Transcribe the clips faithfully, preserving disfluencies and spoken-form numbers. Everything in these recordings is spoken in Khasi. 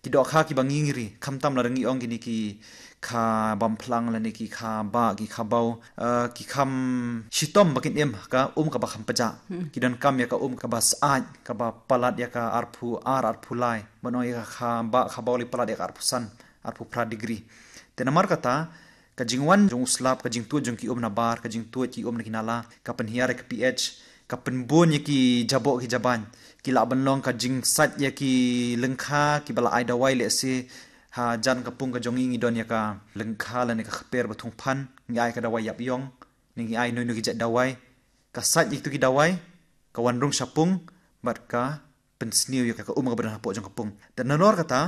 Ki dohkha kiba ngi ngi ri, khamtam lada ngi ong kine ki kha bam phlang lane ki kha bah, ki kha baw, eh, ki kham shitom ba kin im ha ka um kaba kham pajah. Ki donkam ïa ka um kaba syaid, kaba palat ïa ka arphew ar, arphew lai. Ban ong ïa ka kha bah, kha baw lei palat ïa ka arphew san, arphew phra degree. Te namar kata, ka jingwan jong u slap, ka jingtuid jong ki um nabar, ka jingtuid ki um na ki nala, ka pynhiar ïa ka pH, ka pynbun ïa ki jaboh ki jabain. Ki lah ban long ka jingsait ïa ki lyngkha kiba la ai dawai, lehse hajan ka pung ka jong ngi ngi don ïa ka lyngkha lane ka kper ba thung phan, ngi ai ka dawai ïap ïong, ne ngi ai noi noi ki jait dawai. Ka sait ïa kitu ki dawai, ka wan rung sha pung, bad ka pynsniew ïa ka um kaba don hapoh jong ka pung. Te nalor kata,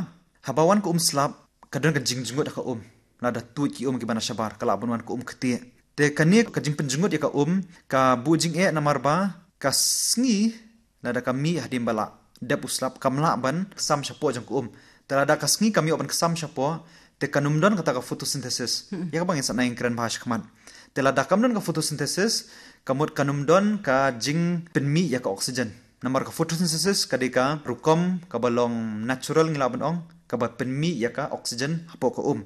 haba wan ka um slap, ka don ka jingjngut ha ka um. Lada tuid ki um kiba na shabar, ka lah ban wan ka um ktieh. Te kane ka jingpynjngut ïa ka um, ka buh jingeh namar ba ka sngi, lada ka mih hadien ba la dep u slap, kam lah ban sam shapoh jong ka um. Te lada ka sngi kam ïoh ban ka sam shapoh, te kan ym don kata ka photosynthesis. Ïa kaba ngin sa nang kren bha shakhmat. Te lada kam don ka photosynthesis, ka mut kan ym don ka jingpynmih ïa ka oxygen. Namar ka photosynthesis ka dei ka rukom kaba long natural, ngi lah ban ong, kaba pynmih ïa ka oxygen hapoh ka um.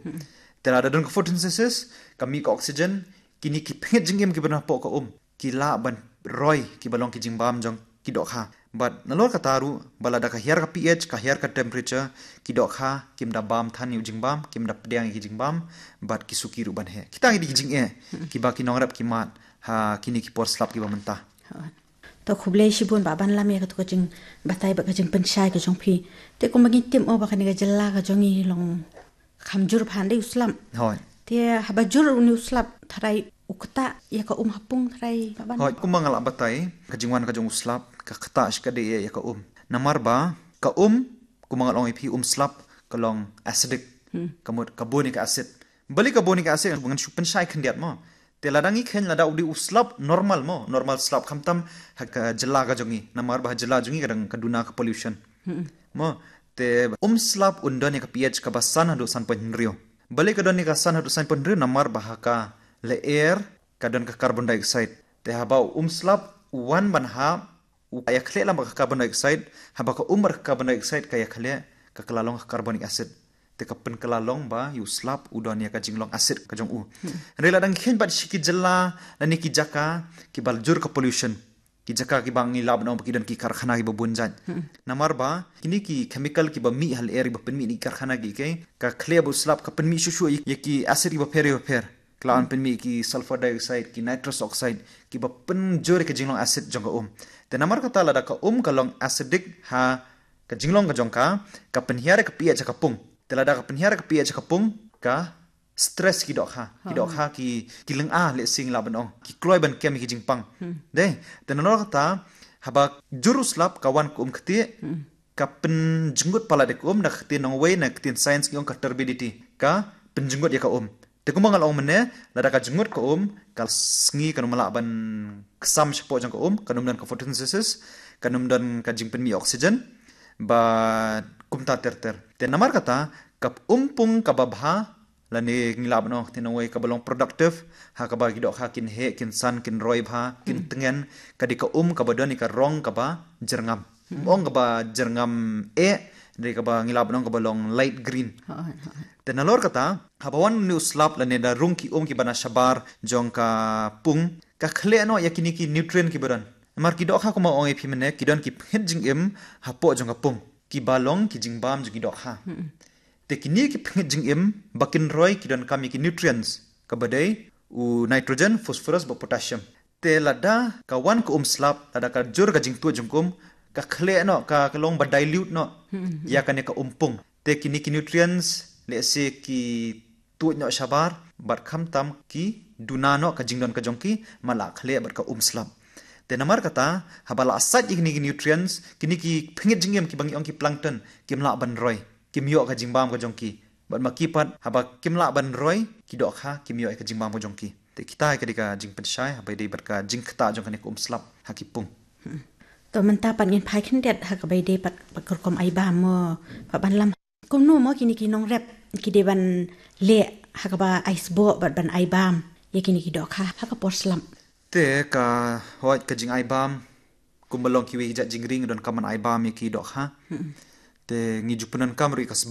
Te lada don ka photosynthesis, ka mih ka oxygen, kine ki phngit jingim kiba don hapoh ka um, ki lah ban roi kiba long ki jingbam jong ki dohkha. Bad nalor kata ruh, ba lada ka hiar ka pH, ka hiar ka temperature, ki dohkha kim da bam than ïa u jingbam, kim da pdiang ïa ki jingbam, bad ki suki ruh ban heh. Kita ki dei ki jingeh kiba ki nongrep ki mad ha kine ki por slap kiba mynta. To khublei shibun Bah Banlam ïa katu ka jingbatai bad ka jingpynshai ka jong phi. Te kumba ngi tip mo ba kane ka jylla ka jong ngi long kham jur phan dei u slap. Hooid. Te haba jur une u slap, tharai u ktah ïa ka um ha pung, tharai Bah Ban. Hooid, kumba nga la batai, ka jingwan ka jong u slap ka ktah shikatdei ïa ka um. Namar ba ka um, kumba nga la ong ïa phi, um slap ka long acidic. Ka mut ka bun ïa ka acid. Balei ka bun ïa ka acid, ngan shu pynshai khyndiat mo. Te lada ngi kheiñ, lada u dei u slap normal mo, normal slap, khamtam ha ka jylla ka jong ngi. Namar ba ha jylla jong ngi ka dang ka duna ka pollution. Mo, te um slap un don ïa ka pH kaba san haduh san point hynriew. Balei ka don ïa ka san haduh san point hynriew? Namar ba ha ka lyer ka don ka carbon dioxide. Te haba u um slap u wan ban hap, u ïakhleh lang bad ka carbon dioxide, haba ka um bad ka carbon dioxide ka ïakhleh, ka kylla long ka carbonic acid. Te ka pynkylla long ba ïa u slap u don ïa ka jinglong acid ka jong u. Hynrei lada ngi kheiñ pat sha ki jylla lane ki jaka kiba jur ka pollution, ki jaka kiba ngi lah ban ong ba ki don ki karkhana kiba bun jait. Namar ba kine ki chemical kiba mih ha lyer, kiba pynmih na ki karkhana ki, ka khleh ba u slap ka pynmih shuh shuh ïa ki acid kiba pher ïa ba pher. Ka lah ban pynmih ki sulfur dioxide, ki nitrous oxide, kiba pynjur ïa ka jinglong acid jong ka um. Te namar kata lada ka um ka long acidic ha ka jinglong ka jong ka, ka pynhiar ïa ka pH ha ka pung. Te lada ka pynhiar ïa ka pH ha ka pung, ka stress ki dohkha. Ki dohkha ki, ki lynga, lehse ngi lah ban ong, ki kloi ban kem ïa ki jingpang. Dei, te nalor kata, haba jur u slap ka wan ka um ktieh, ka pynjngut palat ïa ka um, na ka ktien nongwei, na ka ktien science ngi ong ka turbidity. Ka pynjngut ïa ka um. Te kumba nga la ong mynne, lada ka jngut ka um, ka sngi kan ym lah ban ksam shapoh jong ka um, kan ym don ka photosynthesis, kan ym don ka jingpynmih oxygen, bad kumta ter ter. Te namar kata, ka um pung kaba bha, lane ngi lah ban ong, te nongwei kaba long productive, ha kaba ki dohkha kin heh, kin san, kin roi bha, kin tngen, ka dei ka um kaba don ïa ka rong kaba jyrngam. Ym ong kaba jyrngam eh, dei kaba ngi lah ban ong kaba long light green. Te nalor kata, haba wan une u slap lane da rung ki um kiba na shabar jong ka pung, ka khleh noh ïa kine ki nutrient kiba don. Namar ki dohkha kumba ong ïa phi mynne, ki don ki phngit jingim hapoh jong ka pung, kiba long ki jingbam jong ki dohkha. Te kine ki phngit jingim ba kin roi ki donkam ïa ki nutrients, kaba dei u nitrogen, phosphorus bad potassium. Te lada ka wan ka um slap, lada ka jur ka jingtuid jong ka um, ka khleh noh, ka, ka long ba dilute noh ïa kane ka um pung. Te kine ki nutrients, lehse ki tuid noh shabar, bad khamtam ki duna noh ka jingdon ka jong ki, man la khleh bad ka um slap. Te namar kata, haba la sait ïa kine ki nutrients, kine ki phngit jingim kiba ngi ong ki plankton, kim lah ban roi, kim ïoh ka jingbam ka jong ki. Bad ma ki pat, haba kim lah ban roi, ki dohkha kim ïoh ka jingbam ka jong ki. Te kita ka dei ka jingpynshai, haba ïadei bad ka jingktah jong kane ka um slap ha ki pung. To mynta pat ngin phai khyndiat ha kaba ïadei pat, pat ka rukom ai bam mo, Bah Banlam. Kumno mo kine ki nongrep ki dei ban leh ha kaba ai sboh bad ban ai bam ïa kine ki dohkha ha ka por slap? Te ka, hooid, ka jingai bam, kumba long kiwei ki jait jingri ngi donkam ban ai bam ïa ki dohkha. Te ngi ju pyndonkam ruh ïa ka